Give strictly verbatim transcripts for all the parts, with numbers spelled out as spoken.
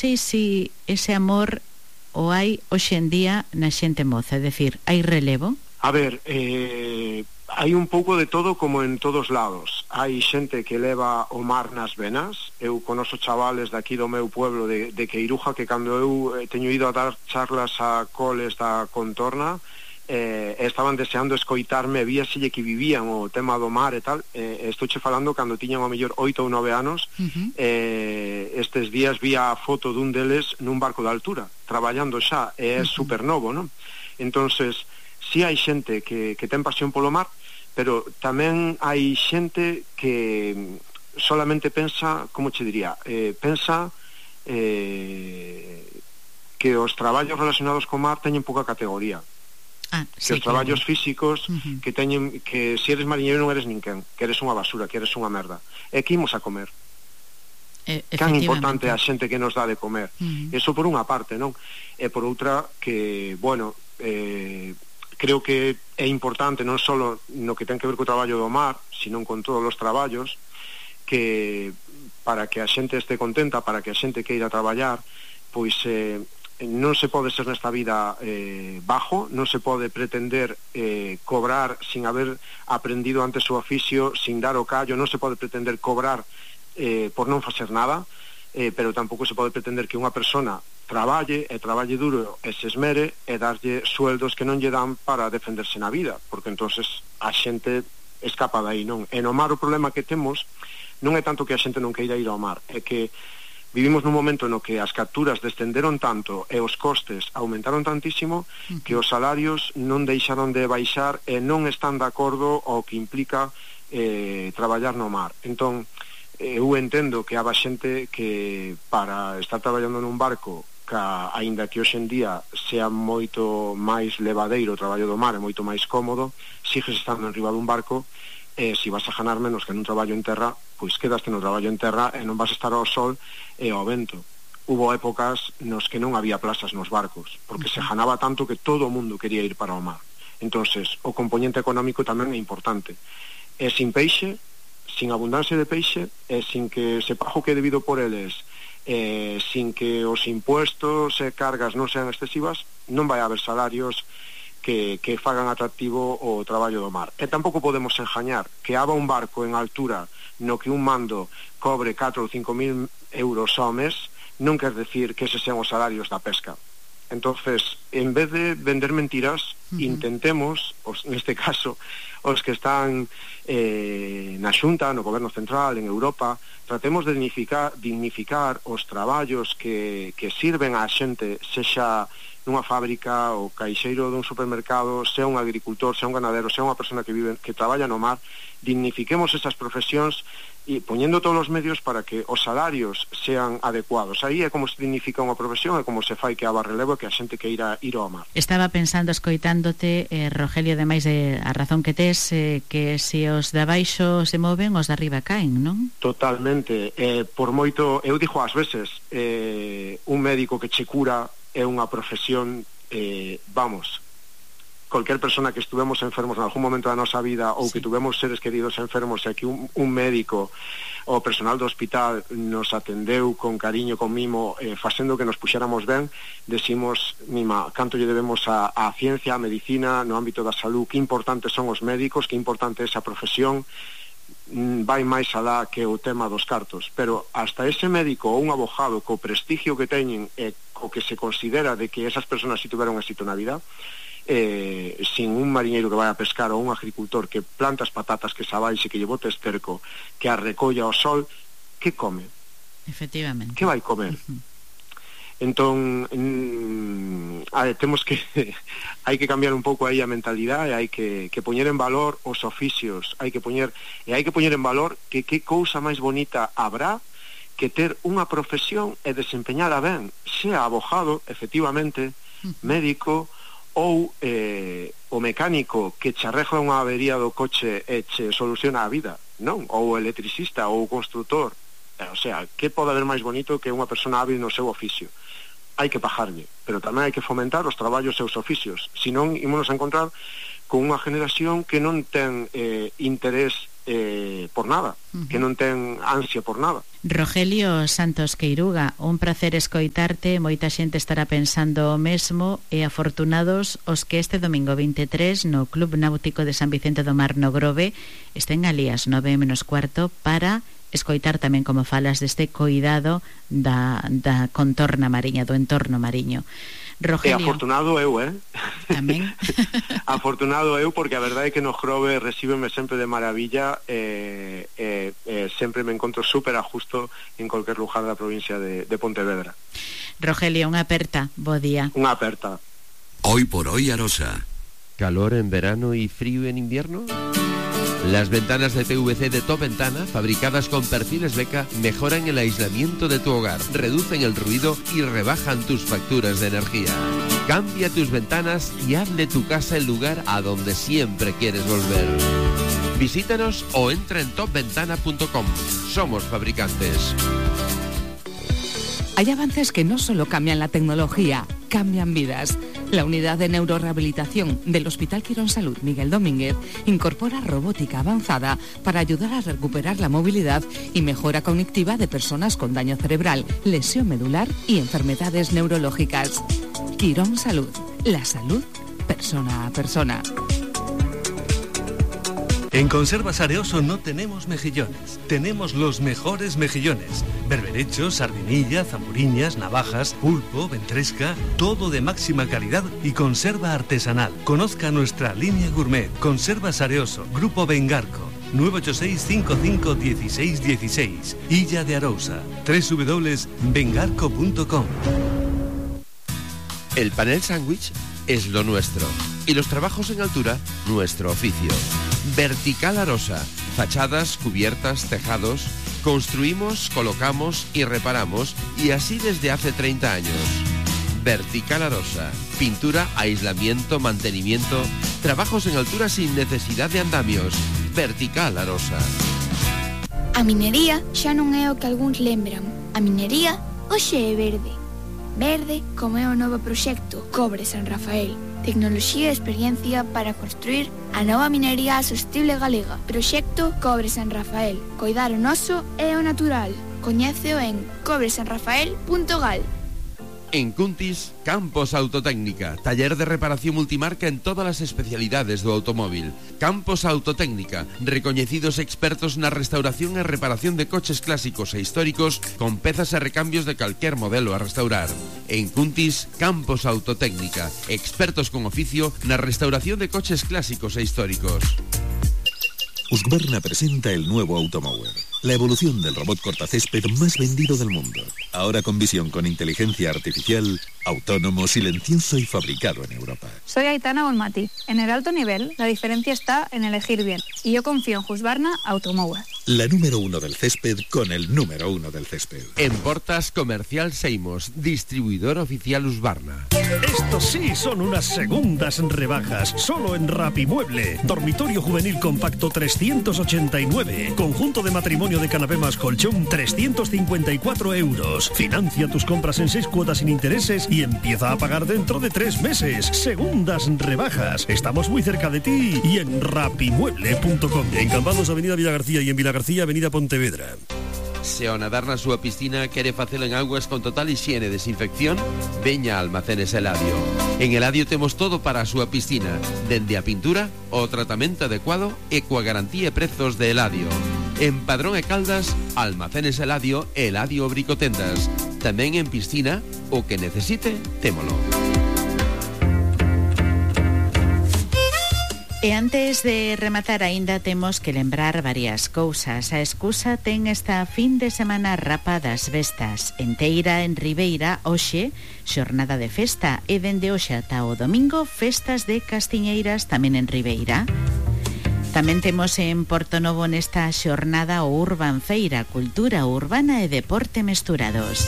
sei se ese amor o hai hoxe en día na xente moza, é dicir, hai relevo? A ver, eh, hai un pouco de todo como en todos lados. Hai xente que leva o mar nas venas. Eu conoso chavales daqui do meu pueblo de, de Queiruja que cando eu eh, teño ido a dar charlas a coles da contorna, eh, estaban deseando escoitarme, víaselle que vivían o tema do mar e tal. Eh, estou che falando cando tiñan ao mellor oito ou nove anos. uh-huh. eh, estes días vi a foto dun deles nun barco de altura traballando xa, e é uh-huh. super novo, non? Entonces, si hai xente que, que ten pasión polo mar, pero tamén hai xente que solamente pensa, como che diría, eh, pensa eh, que os traballos relacionados co mar teñen pouca categoría. Ah, que sí, os traballos claro. físicos uh-huh. que teñen, que se eres mariñeiro non eres ninguén, que eres unha basura, que eres unha merda. E que imos a comer? Eh, Can importante a xente que nos dá de comer. Uh-huh. Eso por unha parte, non? E por outra que, bueno, eh, creo que é importante non só no que ten que ver co traballo do mar, sino con todos os traballos, que para que a xente este contenta, para que a xente queira traballar, pois eh, non se pode ser nesta vida eh, bajo, non se pode pretender eh, cobrar sin haber aprendido antes o oficio, sin dar o callo, non se pode pretender cobrar eh, por non facer nada, eh, pero tampouco se pode pretender que unha persona traballe e traballe duro e se esmere e darlle sueldos que non lle dan para defenderse na vida, porque entonces a xente escapa dai, non? E no mar o problema que temos non é tanto que a xente non queira ir ao mar, é que vivimos nun momento no que as capturas descenderon tanto e os costes aumentaron tantísimo uh-huh. que os salarios non deixaron de baixar e non están de acordo ao que implica eh, traballar no mar. Entón, eu entendo que haba xente que para estar traballando nun barco, que aínda que hoxe en día sea moito máis levadeiro o traballo do mar e moito máis cómodo, sigues estando en riba dun barco, e se vas a ganar menos que nun traballo en terra, pois quedaste no traballo en terra e non vas a estar ao sol e ao vento. Hubo épocas nos que non había plazas nos barcos, porque se ganaba tanto que todo o mundo quería ir para o mar. Entonces, o componente económico tamén é importante. E sin peixe, sin abundancia de peixe, e sin que se pago que é debido por eles, e sin que os impuestos e cargas non sean excesivas, non vai haber salarios que, que fagan atractivo o traballo do mar. E tampouco podemos engañar que haba un barco en altura no que un mando cobre catro ou cinco mil euros ao mes, non quer decir que eses sean os salarios da pesca. Entonces, en vez de vender mentiras, uh-huh. intentemos, os, neste caso, os que están eh, na Xunta, no Goberno Central, en Europa, tratemos de dignificar, dignificar os traballos que, que sirven á xente, sexa nunha fábrica, o caixeiro dun supermercado, sea un agricultor, sea un ganadero, sea unha persona que vive, que traballa no mar, dignifiquemos esas profesións e poñendo todos os medios para que os salarios sean adecuados. Aí é como se dignifica unha profesión, é como se fai que haba relevo, que a xente que irá ir ao mar. Estaba pensando, escoitándote, eh, Rogelio, ademais de a razón que tes, eh, que se os de abaixo se moven, os de arriba caen, non? Totalmente. Eh, por moito, eu dixo ás veces, eh, un médico que che cura é unha profesión, eh, vamos, cualquier persona que estuvemos enfermos en algún momento da nosa vida ou sí. que tuvemos seres queridos enfermos e que un, un médico ou personal do hospital nos atendeu con cariño, con mimo, eh, facendo que nos puxéramos ben, decimos, mima, canto lle debemos a, a ciencia, a medicina, no ámbito da salud, que importantes son os médicos, que importante é esa profesión, vai máis alá que o tema dos cartos, pero hasta ese médico ou un abogado co prestigio que teñen e co que se considera de que esas personas si tuveron éxito na vida, eh, sin un mariñeiro que vai a pescar ou un agricultor que planta as patatas, que sabaixe, que lle bote esterco, que a recolla ao sol, que come? Efectivamente. Que vai comer? Uh-huh. Entón, mm, a, temos que hai que cambiar un pouco aí a mentalidade, hai que, que poñer en valor os oficios, hai que poñer e hai que poñer en valor que que cousa máis bonita habrá que ter unha profesión e desempeñada ben, sea abogado, efectivamente, médico ou eh, o mecánico que che arregla unha avería do coche e che soluciona a vida, non? Ou o electricista ou o constructor. O sea, que pode haber máis bonito que unha persona hábil no seu oficio? Hai que pagarlle, pero tamén hai que fomentar os traballos e os oficios, senón ímonos a encontrar con unha generación que non ten eh, interés eh, por nada, uh-huh. que non ten ansia por nada. Rogelio Santos Queiruga, un placer escoitarte, moita xente estará pensando o mesmo, e afortunados os que este domingo veintitrés no Club Náutico de San Vicente do Mar no Grove estén ali ás nove menos cuarto para escoitar tamén como falas deste coidado da, da contorna mariña, do entorno mariño. Rogelio. E afortunado eu, eh? Tamén. Afortunado eu, porque a verdade é que no Grove recíbeme sempre de maravilla, e eh, eh, eh, sempre me encontro super a justo en cualquier lugar da provincia de, de Pontevedra. Rogelio, unha aperta, bo día. Unha aperta. Hoy por hoy Arosa. ¿Calor en verano y frío en invierno? Las ventanas de P V C de Top Ventana, fabricadas con perfiles Beca, mejoran el aislamiento de tu hogar, reducen el ruido y rebajan tus facturas de energía. Cambia tus ventanas y haz de tu casa el lugar a donde siempre quieres volver. Visítanos o entra en top ventana punto com. Somos fabricantes. Hay avances que no solo cambian la tecnología, cambian vidas. La unidad de neurorehabilitación del Hospital Quirón Salud Miguel Domínguez incorpora robótica avanzada para ayudar a recuperar la movilidad y mejora cognitiva de personas con daño cerebral, lesión medular y enfermedades neurológicas. Quirón Salud, la salud persona a persona. En Conservas Areoso no tenemos mejillones, tenemos los mejores mejillones. Berberechos, sardinilla, zamburiñas, navajas, pulpo, ventresca, todo de máxima calidad y conserva artesanal. Conozca nuestra línea gourmet. Conservas Areoso, Grupo Bengarco, nueve ocho seis, cinco cinco, uno seis uno seis, Illa de Arousa, doble u doble u doble u punto bengarco punto com. El panel sándwich es lo nuestro y los trabajos en altura, nuestro oficio. Vertical Arosa, fachadas, cubiertas, tejados. Construimos, colocamos y reparamos, y así desde hace treinta años. Vertical Arosa, pintura, aislamiento, mantenimiento, trabajos en altura sin necesidad de andamios. Vertical Arosa. A minería xa non é o que algúns lembran. A minería hoxe é verde. Verde como é o novo proxecto Cobre San Rafael. Tecnoloxía e experiencia para construir a nova minería sostible galega. Proxecto Cobre San Rafael. Coidar o noso e o natural. Coñéceo en cobre san rafael punto gal. En Cuntis, Campos Autotécnica, taller de reparación multimarca en todas las especialidades do automóvil. Campos Autotécnica, recoñecidos expertos na restauración e reparación de coches clásicos e históricos con pezas e recambios de calquer modelo a restaurar. En Cuntis, Campos Autotécnica, expertos con oficio na restauración de coches clásicos e históricos. Husqvarna presenta el nuevo Automower, la evolución del robot cortacésped más vendido del mundo. Ahora con visión con inteligencia artificial, autónomo, silencioso y fabricado en Europa. Soy Aitana Bonmati. En el alto nivel, la diferencia está en elegir bien. Y yo confío en Husqvarna Automower. La número uno del césped con el número uno del césped. En Portas Comercial Seimos, distribuidor oficial Husqvarna. Estos sí son unas segundas rebajas, solo en Rapimueble. Dormitorio juvenil compacto trescientos ochenta y nueve. Conjunto de matrimonio de canapé más colchón trescientos cincuenta y cuatro euros. Financia tus compras en seis cuotas sin intereses y empieza a pagar dentro de tres meses. Segundas rebajas. Estamos muy cerca de ti y en rapimueble punto com. En Cambados, Avenida Villa García, y en Villa García, Avenida Pontevedra. Se ao nadar na súa piscina quere facelo en augas con total higiene e desinfección, veña a Almacenes Eladio. En Eladio temos todo para a súa piscina, dende a pintura, o tratamento adecuado e coa garantía e prezos de Eladio. En Padrón e Caldas, Almacenes Eladio e Eladio Bricotendas. Tamén en piscina, o que necesite, témolo. E antes de rematar aínda temos que lembrar varias cousas. A excusa ten esta fin de semana Rapa das Vestas. En Teira, en Ribeira, hoxe, xornada de festa. E dende hoxe ata o domingo, festas de castiñeiras tamén en Ribeira. Tamén temos en Portonovo nesta xornada o Urban Feira, cultura urbana e deporte mesturados.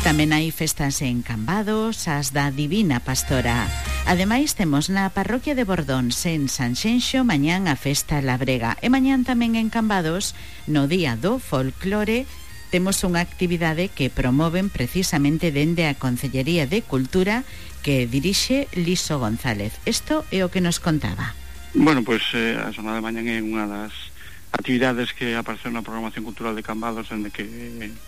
Tamén hai festas en Cambados, as da Divina Pastora. Ademais, temos na parroquia de Bordóns, en Sanxenxo, mañán a festa Labrega. E mañán tamén en Cambados, no día do folclore, temos unha actividade que promoven precisamente dende a Concellería de Cultura que dirixe Liso González. Isto é o que nos contaba. Bueno, pois pues, eh, a xornada de mañán é unha das actividades que apareceron na programación cultural de Cambados, dende que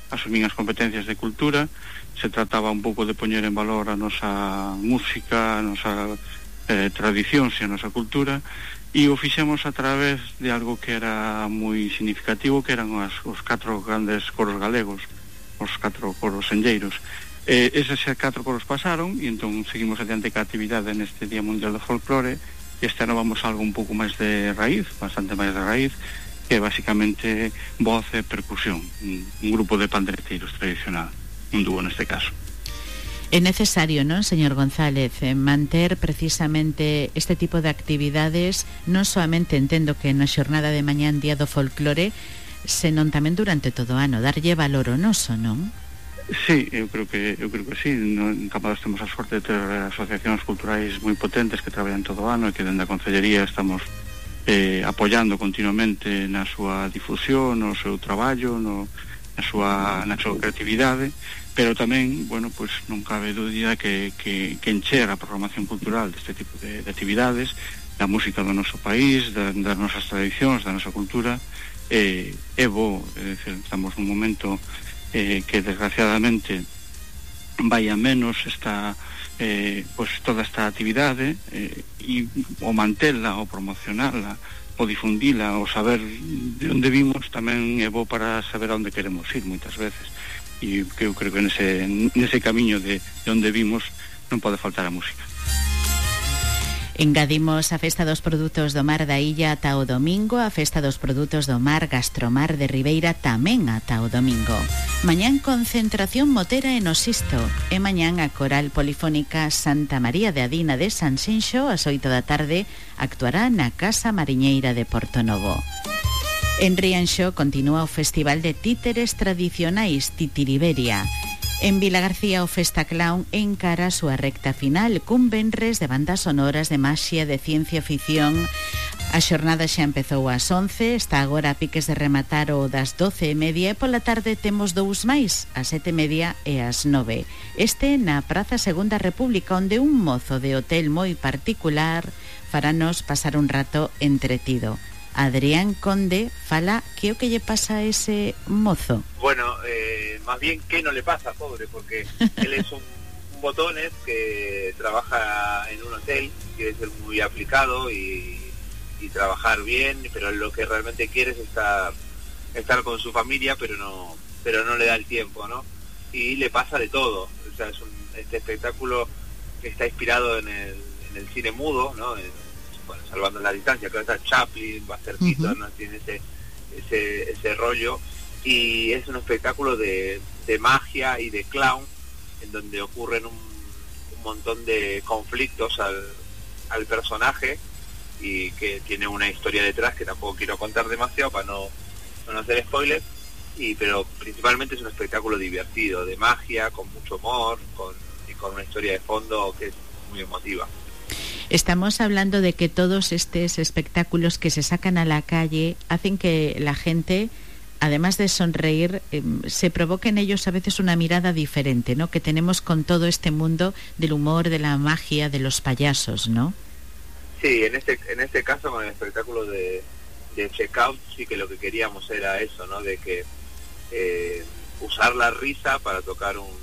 asumín as competencias de cultura. Se trataba un pouco de poñer en valor a nosa música, a nosa eh, tradición e a nosa cultura, e o fixemos a través de algo que era moi significativo, que eran as, os catro grandes coros galegos, os catro coros enlleiros. Eh, eses catro coros pasaron, e entón seguimos adiante ca actividade neste Día Mundial do Folclore. Este ano vamos a algo un pouco máis de raíz, bastante máis de raíz, que é basicamente voz e percusión, un, un grupo de pandereteiros tradicional, un dúo neste caso. É necesario, non, señor González, manter precisamente este tipo de actividades, non soamente entendo que na xornada de mañán Día do Folclore, senón tamén durante todo o ano, darlle valor ao noso, non? Sí, eu creo que eu creo que sí. No, en Cambados temos a sorte de ter asociacións culturais moi potentes que traballan todo o ano e que dende a Concellería estamos eh, apoiando continuamente na súa difusión, no seu traballo, no, na súa na súa creatividade, pero tamén, bueno, pois non cabe dúbida que, que, que encher a programación cultural deste tipo de, de actividades, da música do noso país, da, das nosas tradicións, da nosa cultura, eh, é bo, é dicir, estamos nun momento eh, que desgraciadamente vai a menos esta eh, pois toda esta actividade, eh, e o mantela, o promocionala, o difundila, o saber de onde vimos tamén é bo para saber a onde queremos ir moitas veces, e que eu creo que nese, nese camiño de, de onde vimos non pode faltar a música. Engadimos a Festa dos Produtos do Mar da Illa ata o domingo, a Festa dos Produtos do Mar Gastromar de Ribeira tamén ata o domingo. Mañán concentración motera en Osisto e mañán a Coral Polifónica Santa María de Adina de Sanxenxo ás oito da tarde actuará na Casa Mariñeira de Portonovo. En Rianxo continúa o Festival de Títeres Tradicionais Titiriberia. En Vilagarcía o Festa Clown encara a súa recta final cun venres de bandas sonoras de maxia de ciencia ficción. A xornada xa empezou ás once, está agora a piques de rematar o das doce e media e pola tarde temos dous máis, ás sete e media e ás nove. Este na Praza Segunda República, onde un mozo de hotel moi particular faranos pasar un rato entretido. Adrián Conde fala que o que lle pasa a ese mozo. Bueno, eh, más bien que no le pasa, pobre, porque él es un, un botones que trabaja en un hotel, quiere ser muy aplicado y, y trabajar bien, pero lo que realmente quiere es estar, estar con su familia, pero no, pero no le da el tiempo, ¿no? Y le pasa de todo, o sea, es un, este espectáculo que está inspirado en el, en el cine mudo, ¿no? En, bueno, salvando la distancia, creo que está Chaplin, Bastercito, uh-huh. ¿no? Tiene ese, ese, ese rollo, y es un espectáculo de, de magia y de clown, en donde ocurren un, un montón de conflictos al, al personaje, y que tiene una historia detrás que tampoco quiero contar demasiado para no, para no hacer spoilers, y, pero principalmente es un espectáculo divertido, de magia, con mucho humor, con, y con una historia de fondo que es muy emotiva. Estamos hablando de que todos estos espectáculos que se sacan a la calle hacen que la gente, además de sonreír, eh, se provoque en ellos a veces una mirada diferente, ¿no? Que tenemos con todo este mundo del humor, de la magia, de los payasos, ¿no? Sí, en este en este caso con el espectáculo de, de Checkout sí que lo que queríamos era eso, ¿no? De que eh, usar la risa para tocar un,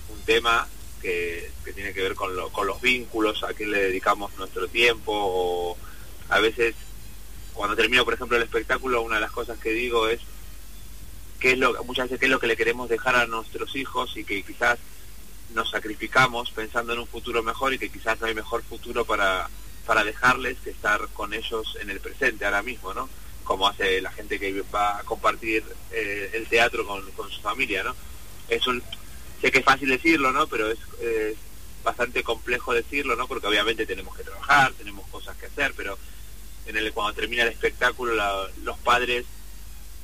un tema Que, que tiene que ver con, lo, con los vínculos, a quién le dedicamos nuestro tiempo, o a veces cuando termino por ejemplo el espectáculo, una de las cosas que digo es qué es lo, muchas veces qué es lo que le queremos dejar a nuestros hijos, y que quizás nos sacrificamos pensando en un futuro mejor, y que quizás no hay mejor futuro para, para dejarles que estar con ellos en el presente ahora mismo, ¿no? Como hace la gente que va a compartir eh, el teatro con, con su familia, ¿no? Es un Sé que es fácil decirlo, ¿no? Pero es eh, bastante complejo decirlo, ¿no? Porque obviamente tenemos que trabajar, tenemos cosas que hacer, pero en el cuando termina el espectáculo la, los padres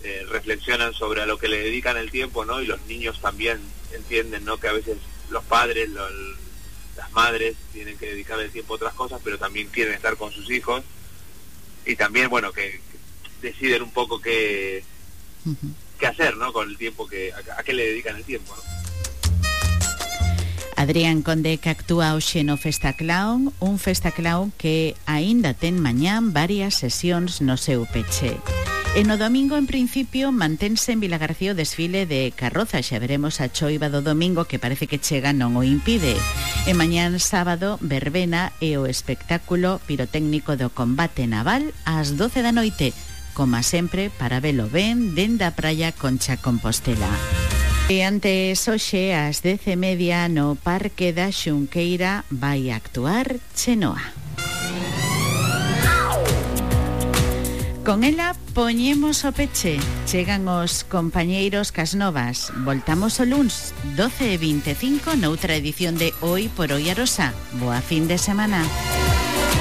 eh, reflexionan sobre a lo que le dedican el tiempo, ¿no? Y los niños también entienden, ¿no? Que a veces los padres, lo, las madres tienen que dedicar el tiempo a otras cosas, pero también quieren estar con sus hijos, y también, bueno, que, que deciden un poco qué, uh-huh. qué hacer, ¿no? Con el tiempo, que a, a qué le dedican el tiempo, ¿no? Adrián Conde, que actúa hoxe no Festa Clown, un Festa Clown que aínda ten mañán varias sesións no seu peche. E no domingo, en principio, mantense en Vilagarcía o desfile de carroza. Xa veremos a choiva do domingo, que parece que chega non o impide. E mañán sábado, verbena e o espectáculo pirotécnico do combate naval ás doce da noite, como sempre, para velo ben dende a praia Concha Compostela. E antes hoxe, ás dez e media, no Parque da Xunqueira vai actuar Chenoa. Con ela poñemos o peche. Chegan os compañeiros Casnovas. Voltamos o luns, doce e vinte e cinco, noutra edición de Hoy por Hoy Arosa. Boa fin de semana.